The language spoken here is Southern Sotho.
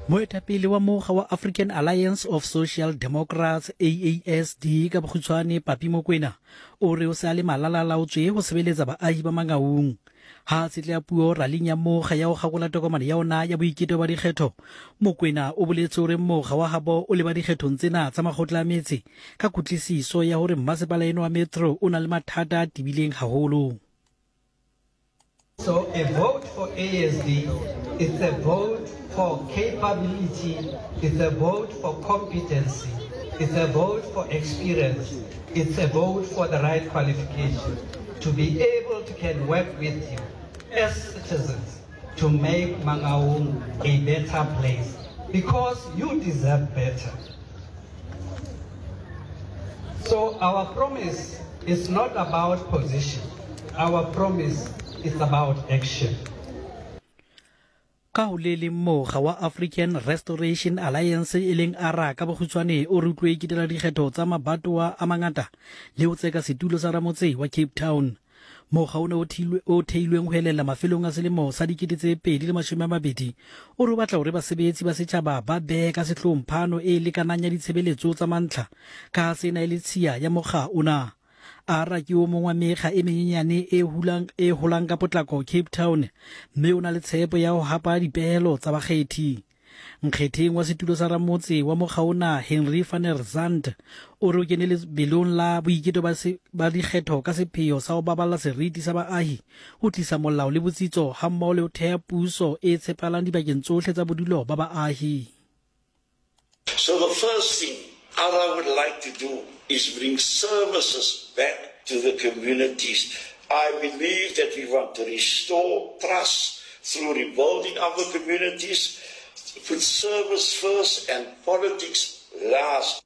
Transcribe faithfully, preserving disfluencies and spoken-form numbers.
Moetapele wa mokga wa African Alliance of Social Democrats, A A S D ka bokgutshwane, Papi Mokwena, o re o se a le malalalaotswe ho sebeletsa baahi ba Mangaung. Ha a tshetleha puo raling ya mokga ya ho kgakola tokomane ya ona ya boiketo ba dikgetho, Mokwena o boletse hore mokga wa habo o leba dikgethong tsena tsa makgotla a metse ka kutlwisiso ya hore mmasepala eno wa Metro o na le mathata a tebileng haholo. So a vote for A S D is a vote for capability, it's a vote for competency, it's a vote for experience, it's a vote for the right qualification to be able to can work with you as citizens to make Mangaung a better place, because you deserve better. So our promise is not about position. Our promise is about action. Ka ho le leng, mokga wa African Restoration Alliance, e leng ARA ka bokgutshwane, o re utlwe ikitela dikgetho tsa mabatowa a mangata le ho tseka setulo sa ramotse wa Cape Town. Mokga o ne o theilweng ho elella mafelong a selemo sa dikete tse pedi le mashome a mabedi o re o batla hore basebetsi ba setjhaba ba behe ka sehloohong phano e lekanang ya ditshebeletso tsa mantlha, ka ha sena e le tshiya ya mokga ona. ARA ke o mong wa mekga e menyenyane e hulang e holang ka potlako Cape Town, mme o na le tshepo ya ho hapa dipehelo tsa bakgethi. Nkgetheng wa setulo sa ramotse wa mokga ona, Henry van der Zandt, o re o kene lebelong la boiketo ba, ba dikgetho ka sepheo sa ho baballa seriti sa baahi, ho tlisa molao le botsitso, hammoho le ho theha puso e tshepahalang dibakeng tsohle tsa bodulo ba baahi. So the first thing I would like to do is bring services back to the communities. I believe that we want to restore trust through rebuilding our communities, put service first and politics last.